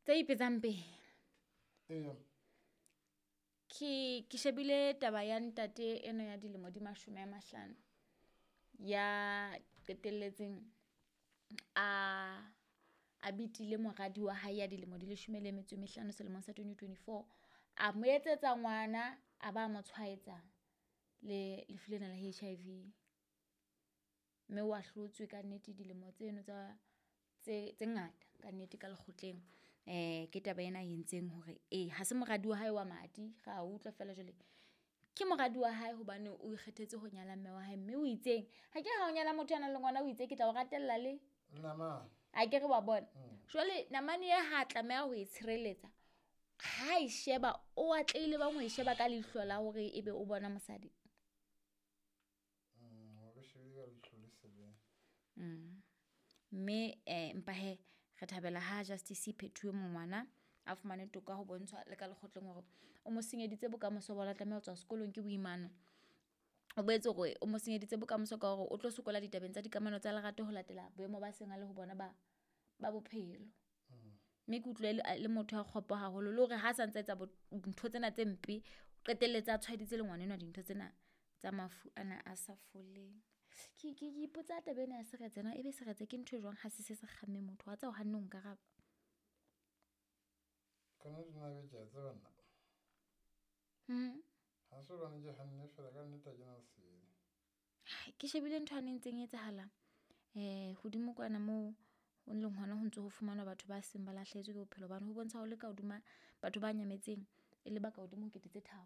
Tse ipetsang pele. Eya. Ke shebile taba ya ntate eno ya dilemo di 50 ya qetelletseng a bitile moradi wa hae ya dilemo di 15 selemong sa 2024. A mo etsetsa ngwana, a ba mo tshwaetsa le lefu lena la HIV. Mme wa hlotswe ka nnete dilemo tseno tsa tse ngata ka nnete ka lekgotleng. Ke taba ena e entseng hore ha se moradi wa hae wa madi, ra utlwa fela jwale. Ke moradi wa hae hobane o ikgethetse ho nyala mme wa hae, mme o itseng ha ke ha o nyala motho a nang le ngwana, o itse ke tla o ratella le namane. A ke re wa bona. Jwale namane e ha tlameha ho e tshireletsa, ha e sheba o atlehile bang ho e sheba ka leihlo la hore ebe o bona mosadi. Mme empa he re thabela ha Justice Phethuwe mongwana a fumane toka ho bontshwa le ka lekgotleng hore o mo senyeditse bokamoso ba tlameha ho tswa sekolong ke boimana. O boetse hore o mo senyeditse bokamoso ka hore o tlo sokola ditabeng tsa dikamano tsa lerato ho latela boemo ba seng a le ho bona ba bophelo. Mme ke utlwe le motho a kgopo haholo le hore ha sa ntse etsa ntho tsena tse mpe, o qetelletse a tshwaeditse le ngwana enwa dintho tsena tsa mafu ana a sa foleng. Ke ipotsa taba ena ya seretse na ebe seretse ke ntho e jwang ha se se kgamme motho wa tsa o hanne ho nkaraba. Kana nna be ke a tseba nna. Ha se hobane ke hanne fela ka nnete ha ke na lesedi. Ke shebile ntho ane ntseng etsahala hodimo kwana moo ho leng hona ho ntso ho fumanwa batho ba seng ba lahlehetswe ke bophelo bana ho bontsha ho le ka hodima batho ba nyametseng e le ba ka hodimo ho 3000.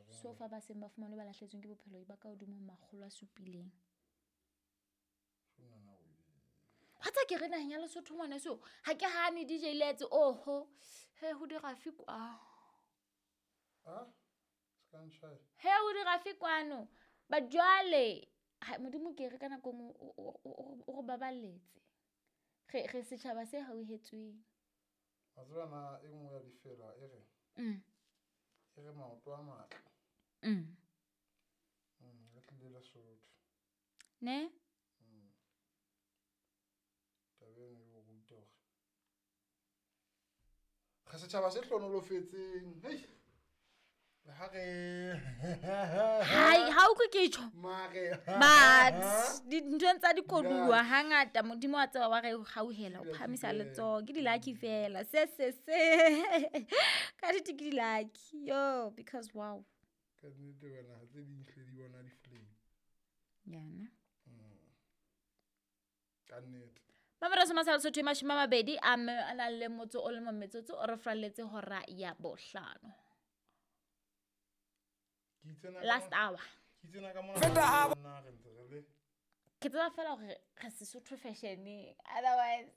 So fa ba seng ba fumanwe ba lahlehetsweng ke bophelo ba ka hodimo ho 700. Wa tsa ke re naheng ya Lesotho ngwana so ha ke hane DJ Letse oho he ho dira fi kwa. He ho dira fi kwano ba jwale Modimo ke re ka nako o re baballetse. Re setjhaba se hauhetsweng. Wa tseba na e nngwe ya difela e re. E re maoto a matle. Re tlile Lesotho. Ne? Taba eno e o ruta hore re setjhaba se hlonolofetseng. Hei. Le ha re Hai, ha o utlwe ke tjho. Mare. But dinthong tsa dikoduwa hangata Modimo wa tseba wa re hauhela, o phahamisa letsoho. Ke di-lucky fela. Se. Ka nnete ke di-lucky. Yo, because wow. Ka nnete wena ha tse ding hle di bona di-flame. Yana. Ka nnete. Mamela se masala Sotho 20 a na le motso o le mong metsotso o re fralletse hora ya 5. Last hour. Ke tseba fela hore re Sesotho fashion, otherwise